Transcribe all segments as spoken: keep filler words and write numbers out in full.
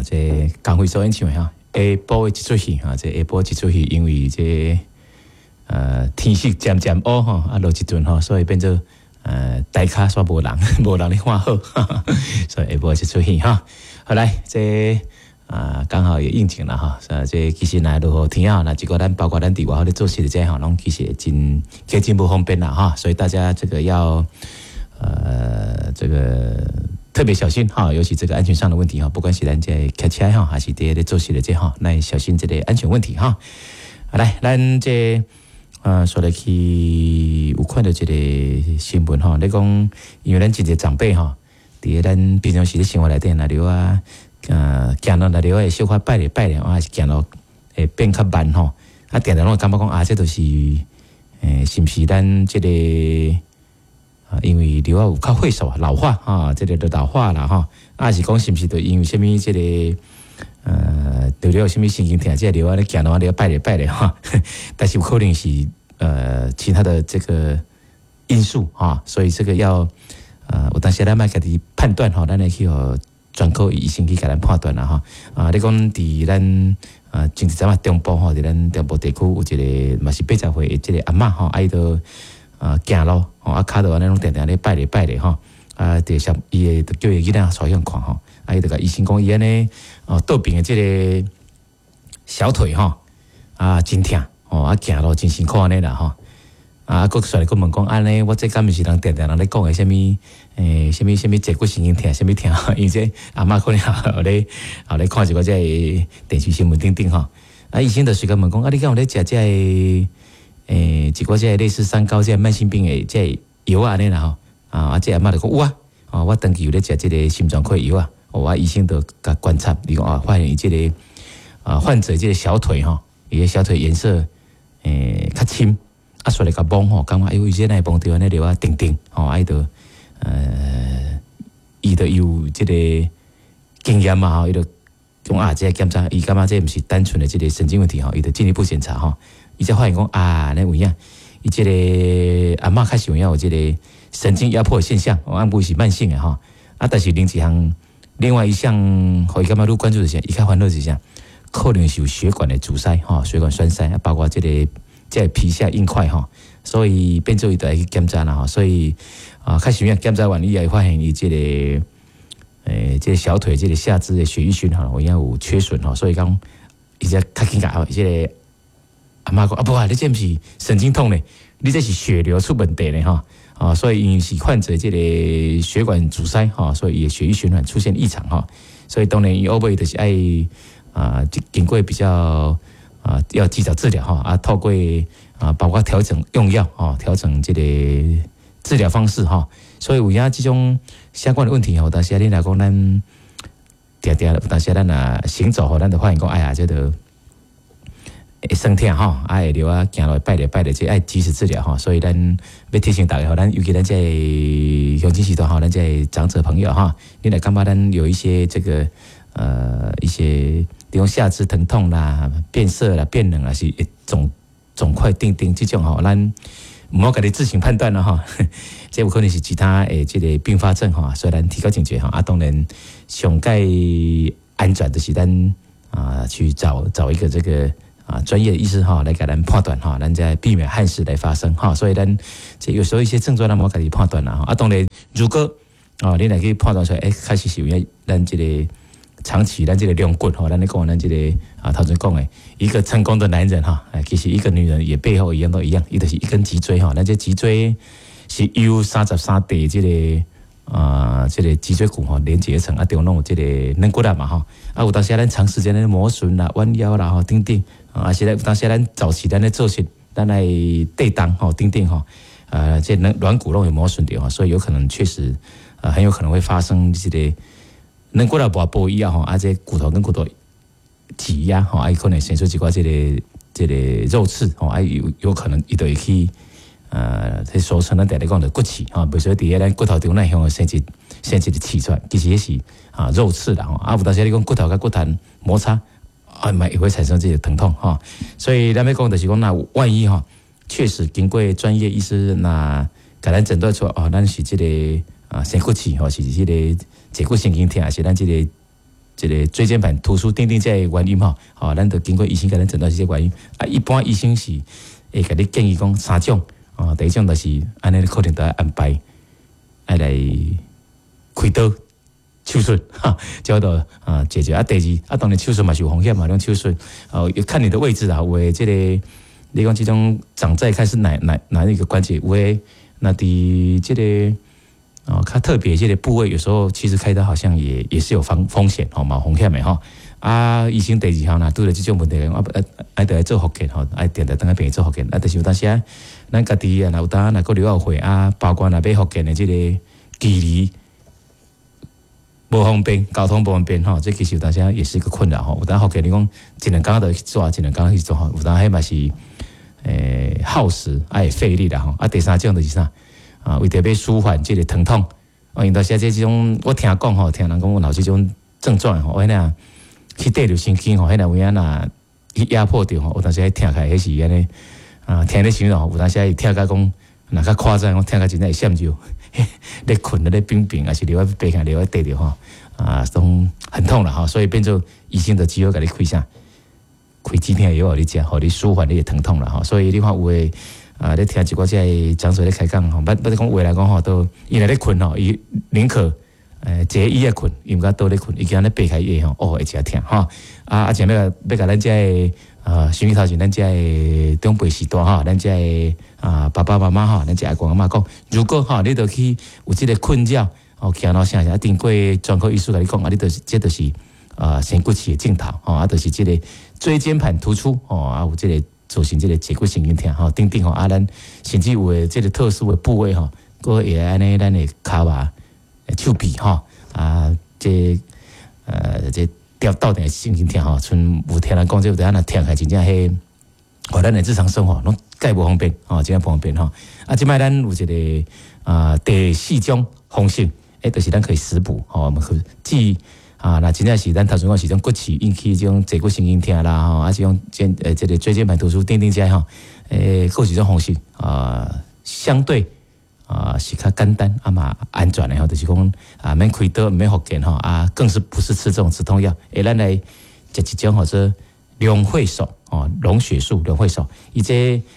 這江蕙所演唱的哈，下晡的一齣戲哈，這下晡一齣戲，因為這呃天色漸漸烏吼，啊落一陣吼，所以變做呃台跤煞無人，無人咧看好，所以下晡一齣戲哈。好來，這啊剛好也應景啦哈，啊這其實若落雨天啊，若一個咱包括咱佇外口咧做事的這吼，攏其實真較真無方便啦哈，所以大家這個要呃這個特別小心哈，尤其這個安全上的問題哈，不管是咱這開車哈，還是佇咧做事的這哈，咱小心這個安全問題哈。好來，咱這呃說來去有看著這個新聞吼，咧講因為咱真濟長輩吼，佇咱平常時咧生活內底，若著啊呃行路若著會小可擺咧擺咧，還是行路會變較慢吼，啊定定攏會感覺講啊，這就是欸，是毋是咱這個？啊，因為著啊有較歲數老化哈，這個就老化啦吼，啊是講是毋是就因為啥物這個呃，著了有啥物神經疼，這個著啊咧行路啊咧擺咧擺咧哈，但是有可能是呃其他的這個因素哈，所以這個要呃有當時咱愛家己判斷吼，咱會去予專科醫生去共咱判斷啦吼。啊，你講佇咱啊，前一陣仔中部吼，佇咱中部地區有一個嘛是八十歲的這個阿嬤吼，啊伊就啊行路吼，啊跤都按呢攏定定咧擺咧擺咧吼，啊，就像伊會就叫伊囡仔帶向看吼，啊伊就共醫生講伊按呢哦倒邊的這個小腿吼，啊真疼吼，啊行路真辛苦按呢啦吼，啊閣煞來閣問講按呢，我這敢毋是人定定人咧講的啥物欸啥物啥物坐骨神經疼，啥物疼？因為這阿嬤可能有咧有咧看一寡這個電視新聞等等吼，啊醫生就隨共問講啊，你敢有咧食這個？欸，一寡這個類似三高這個慢性病的這個藥按呢啦吼，啊，這阿嬤就講有啊，哦，我長期有咧食這個心臟科藥啊，哦，啊醫生就共觀察，伊講啊，發現伊這個啊患者這個小腿吼，伊的小腿顏色欸較深，啊，煞來共摸吼，感覺哎喲，伊這哪會摸著按呢著啊定定吼，啊伊就呃，伊就有這個經驗嘛吼，伊就講啊，這個檢查，伊感覺這毋是單純的這個神經問題吼，伊就進一步檢查吼。伊才發現講啊，那有影，伊這個阿嬤確實有影有這個神經壓迫的現象，啊，毋是慢性的吼。啊，但是另一項，另外一項，予伊感覺愈關注的是，伊較煩惱是啥？可能是有血管的阻塞吼，血管栓塞，包括這個這個皮下硬塊吼，所以變做伊就愛去檢查啦吼。所以啊，確實有影檢查完以後，發現伊這個欸，這個小腿這個下肢的血液循環有影有缺損吼，所以講伊才較緊共這個阿嬤講啊，無啊，你這毋是神經痛咧，你這是血流出問題咧吼，啊，所以因為是患者這個血管阻塞吼，所以伊血液循環出現異常吼，所以當然伊後尾就是愛啊，經過比較啊，要及早治療吼，啊，透過啊，包括調整用藥吼，調整這個治療方式吼，所以有影這種相關的問題吼，但是你若講咱定定，有當時咱若行走吼，咱就發現講，哎呀，這個會酸疼吼，啊會著啊行路擺咧擺咧，這愛及時治療吼，所以咱欲提醒大家吼，咱尤其咱這鄉親時代吼，咱這長者朋友哈，你若感覺咱有一些這個呃一些，比如下肢疼痛啦、變色啦、變冷啦，是腫腫塊釘釘這種吼，咱毋好家己自行判斷啦吼，這有可能是其他的這個併發症吼，所以咱提高警覺吼，啊當然上蓋安全就是咱啊去找找一個這個。啊，專業的醫師哈來共咱判斷哈，咱再避免憾事來發生哈。所以咱這有時候一些症狀，咱毋好家己判斷啦。啊，當然如果哦，你若去判斷出來，欸，確實是有影咱這個長期咱這個龍骨吼，咱咧講咱這個啊，頭前講的一個成功的男人哈，其實一個女人也背後一樣都一樣，伊就是一根脊椎哈。咱這脊椎是由三十三塊這個啊，這個脊椎骨吼連結成啊，中攏有這個軟骨啦嘛吼。啊，有當時咱長時間咧磨損啦、彎腰啦吼等等。啊，是咧，當時咱早期咱咧做事，咱來對當吼，等等吼，呃，這軟軟骨攏會磨損著吼，所以有可能確實，呃，很有可能會發生這個軟骨來磨破以後吼，啊，這骨頭跟骨頭擠壓吼，啊，可能生出一寡這個這個肉刺吼，啊，有有可能伊就會去，呃，這俗稱咱定定講的骨刺吼，比如說佇咧咱骨頭中咱向生一生一個刺出來，其實彼是啊肉刺啦吼，啊，有當時你講骨頭佮骨頭摩擦。啊，嘛也會產生這個疼痛吼，所以咱欲講就是講，那萬一吼，確實經過專業醫師若共咱診斷出哦，咱是這個啊生骨刺吼，是這個坐骨神經疼，還是咱這個這个椎間盤突出等等這个原因吼，吼，咱就經過醫生共咱診斷是這个原因。啊，一般醫生是會共你建議講三種，哦，第一種就是按呢可能著愛安排愛來開刀手術，哈，叫做啊解決。啊，第二啊，當然手術嘛是有風險嘛，種手術哦，要看你的位置啊，有的這个你講這種長在看是哪哪哪一個關節，有的若佇這个哦，較特別這個部位，有時候其實開刀好像也也是有風風險吼，嘛有風險的吼。啊，醫生第二項若拄著這種問題，啊愛愛著愛做復健吼，愛定定轉來病院做復健。啊，但是有當時啊，咱家己啊，若有當若閣留後悔啊，包括若欲復健的這個距離無方便，交通無方便吼，這其實有當時也是一個困擾吼。有當復健你講一兩工就去做，一兩工去做吼，有當彼嘛是欸耗時啊會費力啦吼。啊，第三種就是啥？啊，為著欲舒緩這个疼痛，啊，因當時這種我聽講吼，聽人講有這種症狀吼，我那去綴著神經吼，彼若有影若去壓迫著吼，有當時疼起來彼是按呢啊，聽咧想吼，有當時會疼甲講，若較誇張，講疼甲真正會閃尿，咧睏咧冰冰，抑是尿仔爬起來，尿仔綴著吼，啊，攏很痛啦吼，所以變做醫生就只好共你開啥，開止疼藥予你食，予你舒緩你的疼痛啦吼，所以你看有的。啊！你聽一寡這个講者咧開講吼，捌捌講話來講吼，都伊若咧睏吼，伊寧可欸坐椅仔睏，伊毋敢倒咧睏，伊驚咧爬起來吼，哦會誠疼吼。啊啊！前欲欲共咱這个啊，收音機頭前咱這个長輩時代吼，咱這个啊爸爸媽媽吼，咱這阿公阿嬤講，如果吼你著去有這个困擾，哦，行路啥啥，經過專科醫師共你講啊，你就是這就是啊仙骨刺的症頭吼，啊，就是這个椎間盤突出吼，啊有這个造成這个坐骨神經疼吼，等等吼，啊，咱甚至有的這个特殊的部位吼，閣會按呢咱的跤肉、手臂吼，啊，這呃這吊倒佇神經疼吼，賰有聽人講，這有當若疼起來真正彼，哦，咱的日常生活攏蓋無方便吼，真正無方便吼。啊，這擺咱有一个啊第四種方式，欸，就是咱可以食補吼，我們可治啊，若真正是咱頭先講是種骨刺引起這種坐骨神經疼啦吼，啊，這種肩呃這个椎間盤突出等等這吼，欸，閣有一種方式啊，相對啊是較簡單啊嘛安全的吼，就是講啊免開刀免復健吼，啊，更是不是吃這種止痛藥，欸，咱來食一種號做龍血素哦，龍血樹龍血素，伊這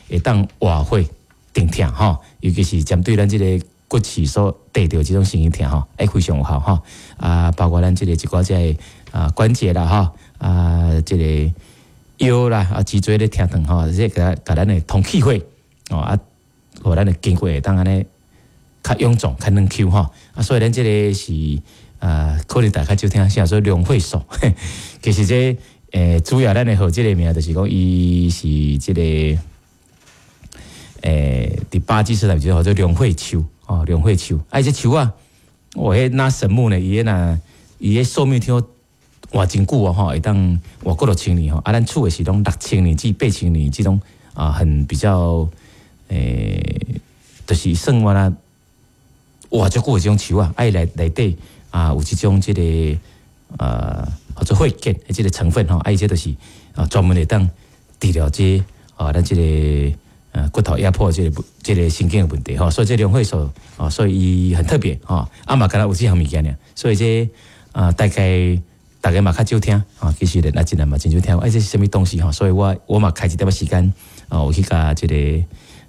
會當活血鎮痛吼，尤其是針對咱這个骨刺所綴著這種神經疼吼，會非常有效吼。啊，包括咱這个一寡這个啊關節啦吼，啊這个腰啦啊脊椎咧疼痛吼，這個共咱的通氣血哦啊，予咱的筋骨會當按呢較臃腫、較軟 Q 吼。啊，所以咱這个是啊，可能大家少聽啥說龍血素，其實這欸主要咱的號這个名就是講伊是這个欸佇巴基斯坦就號做龍血樹哦，龍血樹，啊，這樹啊，哦，彼若神木呢？伊彼若伊彼壽命聽講活真久哦，吼，會當活過落千年吼。啊，咱厝的是攏六千年至八千年這種啊，很比較欸，就是算完啦，活足久的這種樹啊，啊，伊內內底啊有這種這个呃，號做血結的這个成分吼，啊，伊這就是啊專門會當治療這啊咱這个呃骨頭壓迫這个這个神經的問題吼，所以這龍血素哦，所以伊很特別吼，啊嘛敢若有這項物件爾，所以這啊大概大家嘛較少聽啊，其實咧，若真人嘛真少聽，哎，這是啥物東西吼？所以我我嘛開一點仔時間啊，有去共這个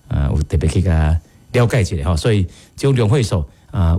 啊有特別去共了解一下吼，所以這種龍血素啊。